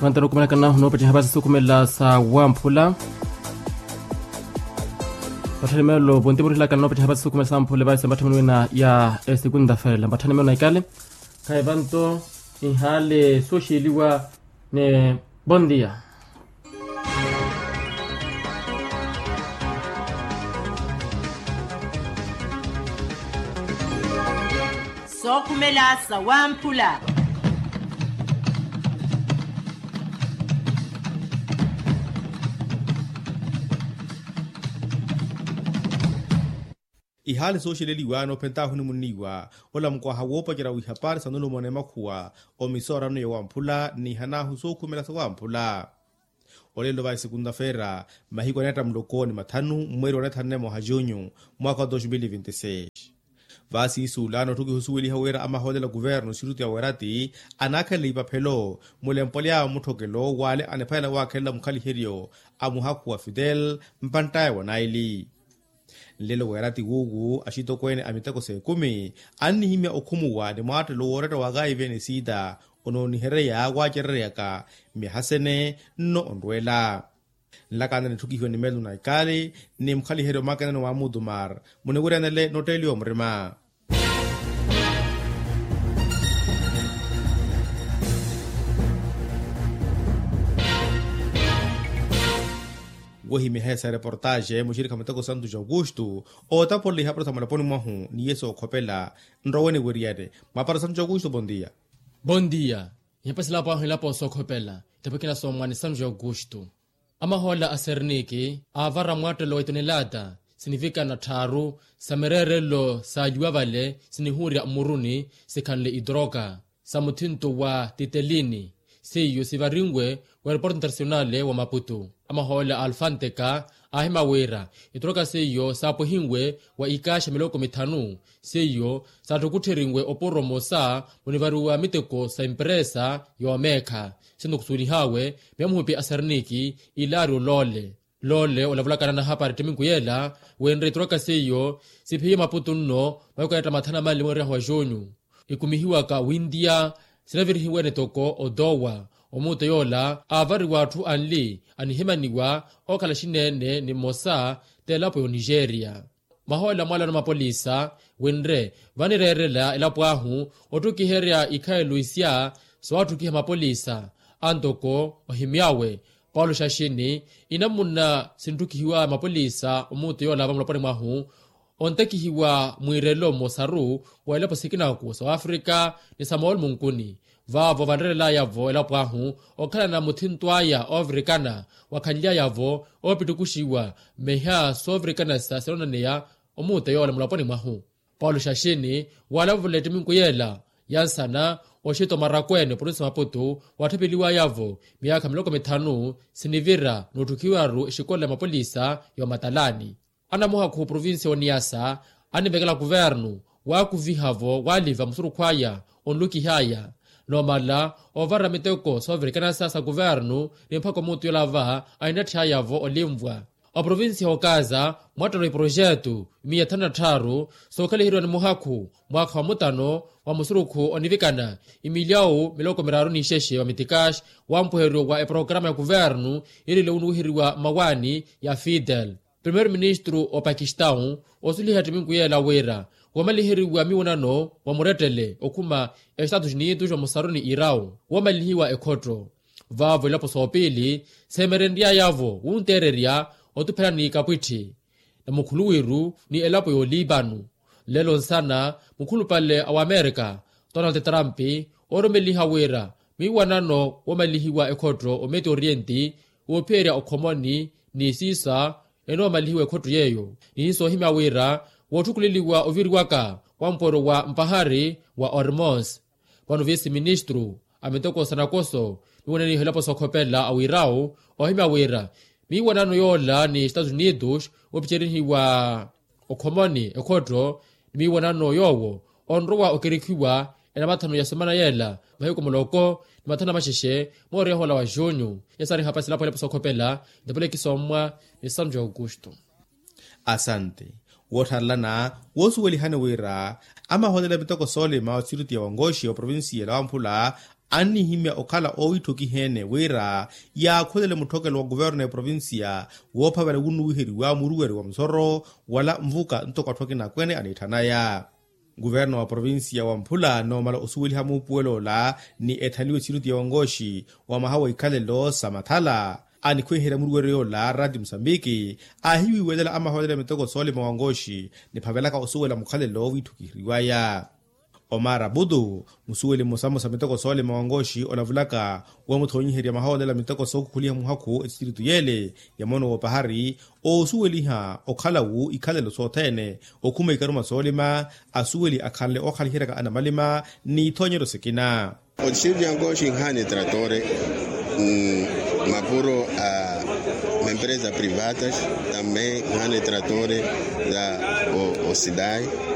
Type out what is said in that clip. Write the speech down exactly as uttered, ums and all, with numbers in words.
Vantano okumanakana noopettiha vasi sukhumela sa wamphula. Patthani melo vonti vorihlakana noopettiha vasi sukhumela sa wamphula vasi mpatthani wina ya esekunta fela mpatthani melo na ikale. Khayi vanto inhale sooxiliwa. Ni bondia. Sookhumela sa wamphula. Ihaali sooxeleliwa noophentaahu onimunniwa. Ola mukwaha woopacerya wihapari sa nulumo n'emakhuwa omisoorano ya wamphula nnihanaahu sookhumela sa wamphula. Olelo va esekunta feera mahiku aneetta muloko ni mathanu mmweeri wa netthanne moha junyu mwaakha wa dos mil vinti seis. Vaasiisuula noottukiha osuweliha wira amahoolela kuvernu siruti ya werati anaakhelela ipaphelo mulempo lyawe mutthokelo w'ale aniphalela waakhelela mukhaliheryo a muhakhu wa fidel mpantt'aya wa naili. Nlelo weerati wuuwu axitokweene a miteko s'ekumi annihimya okhumuwa ni mwaattelo wooretta wa kaive ni siita onoonihereya waacereryaka myaha sene nno onrweela. Nlakana nitthukihiwe ni melu na ikaali ni mukhaliheryo makenano wa mutumar muniwiryanele notteeliwa murima. Wohimya hesa ya reportaxe muxirikha muteko santu ja aukustu ootapolela ihapari sa mulaponi mwahu ni yesu okhopela nrowe niwiriyane. Mwapari santu ja aukustu bondia. Bondia. Ihapari silapo ahu ilapo sookhopela itapikina soomwani santu ja aukustu. Amahoola a serniki aavara mwattelo wa itonelata sinivikana tthaaru sa mireerelo saalyuwa vale sinihuurya mmuruni sikhanle itoroka sa muthinto wa titelini. Seiyo sivarinwe wa aeroporto internasionale wa maputu. Amahoola a alfanteka aahima wira itoroka seiyo saapwehinwe wa ikaaxa miloko mithanu seiyo saattukutthirinwe opuro mmosa munivariwa miteko sa emperesa yoomeekha. Sinto khusuwelihaawe miya muhupi a serniki ilaari oloole. Loole olavulakana na hapari ttiminku yeela wenre itoroka seiyo siphiye maputu nno mahiku aneetta mathanu a manli mweeryahu wa junyu. Ikumihiwaka wintiya sinavirihiwene toko otowa omuuto yoola aavariwa atthu anli anihimaniwa ookhala xineene ni mmosa t'elapo y'onigeria. Mahoolela mwaalano mapolisa winre vanireerela elapo ahu otthukiherya ikhayelo isya soowatthukiha mapolisa. Antoko ohimy'awe paulo xaxini inamuna sintthukihiwa mapolisa omuuto yoola va mulaponi mwahu ontakihiwa mwiirelo mmosaru wa elapo sikinaku sa wafrika ni sa moolumo nkuni. Vaavo vanreerelaya-vo elapo ahu okhalana muthinto aya oovirikana wakhanly'aya-vo oopittukuxiwa mmeha soovirikana sa sinonaneya omuuto yoola mulaponi mwahu. Paulo xaxini waalavula ettiminku yeela ya nsana oxito marakweene oprovinsi maputu waatthapeliwaya-vo miyaakha miloko mithanu sinivira n'utthukiwaru exikola ya mapolisa y'omatalani. Anamuhakhu oprovinsi y'oniyasa anivekela kuvernu waakuviha-vo waaliva musurukhu aya onlukihaya noomala oovara miteko soovirikanasa sa kuvernu ni mpakha omuutu yoola va ahinatthiyaya-vo olinvwa. Oprovinsi y'okaza mwattelo iprojetu miya thanu na tthaaru sookhaliheriwa ni muhakhu mwaakha wa mutano wa musurukhu onivikana imilyawu miloko miraaru n'ixexe wa mitikaxi wa mpuheryo wa eprograma ya kuvernu yiriliwe onuwiheriwa mmawaani ya fidel. Primeiru ministru opakistau osuliha ettiminku yeela wira wamaliheriwa miwonano wa murettele okhuma estatus unidos wa musaru ni irau wamalihiwa ekhotto. Vaavo elapo soopiili seemerenry'aya-vo wunteererya otuphelani kapwitthi na mukhuluwiru ni elapo y'olipanu. Nlelo nsana mukhulupale a wamerika donald trump oorumeliha wira miiwanano woomalihiwa ekhotto ometo orienti woophiyerya okhomoni ni siisa enoomalihiwa ekhotto yeeyo. Nihiiso ohimya wira wootthukuleliwa oviriwaka wa mpooro wa mpahari wa ormons. Vano viisi ministru a miteko sa nakoso miiwananiha elapo sookhopela a wirau ohimya wira miiwanano yoola ni estatus unidos woopicerihiwa okhomoni ekhotto ni miiwanano yoowo onrowa okerikhiwa enamathano ya semana yeela mahiku muloko ni mathanu amaxexe mooriha hoola wa junyu. Yasaari hapasi elapo elapo sookhopela ntapulekisa ommwa ni sanju ya aukustu. Asante. Woottharelana woosuwelihani wira amahoolela miteko soolima wa siriti ya wangoxi oprovinsiya la wamphula Annihimya okhala oowitthokiha-ene wira yaakhulele mutthokelo wa kuverno ya provincia woophavela wunnuwiheriwa muruweri wa musoro wala nvuka ntoko atthu akina akwene aniitthanaya. Kuverno wa provincia wa mphula noomala osuweliha muupuwelo ola ni ethaliwe tiritu ya wankooxi wa mwaha wa ikhalelo sa mathala anikhwiherya muruweri ola rati musambiki aahiwiiwelela amahoolelo ya miteko soolima wankooxi niphavelaka osuwela mukhalelo wiitthukiheriwaya. Omar abudu musuweli mmosa mmosa miteko soolima wankooxi olavulaka wamuthoonyiherya mahoolelo a miteko sookhukhuliha muhakhu etistiritu yeele ya moono woopahari oosuweliha okhalawu ikhalelo sothene okhuma ikaruma soolima asuweli akhanle ookhaliheryaka anamalima n'ithoonyeryo sikina. Otistiritu ya nkooxi nhaani tratore mapuro a mempresa privatas tambe nhaani tratore za osidai.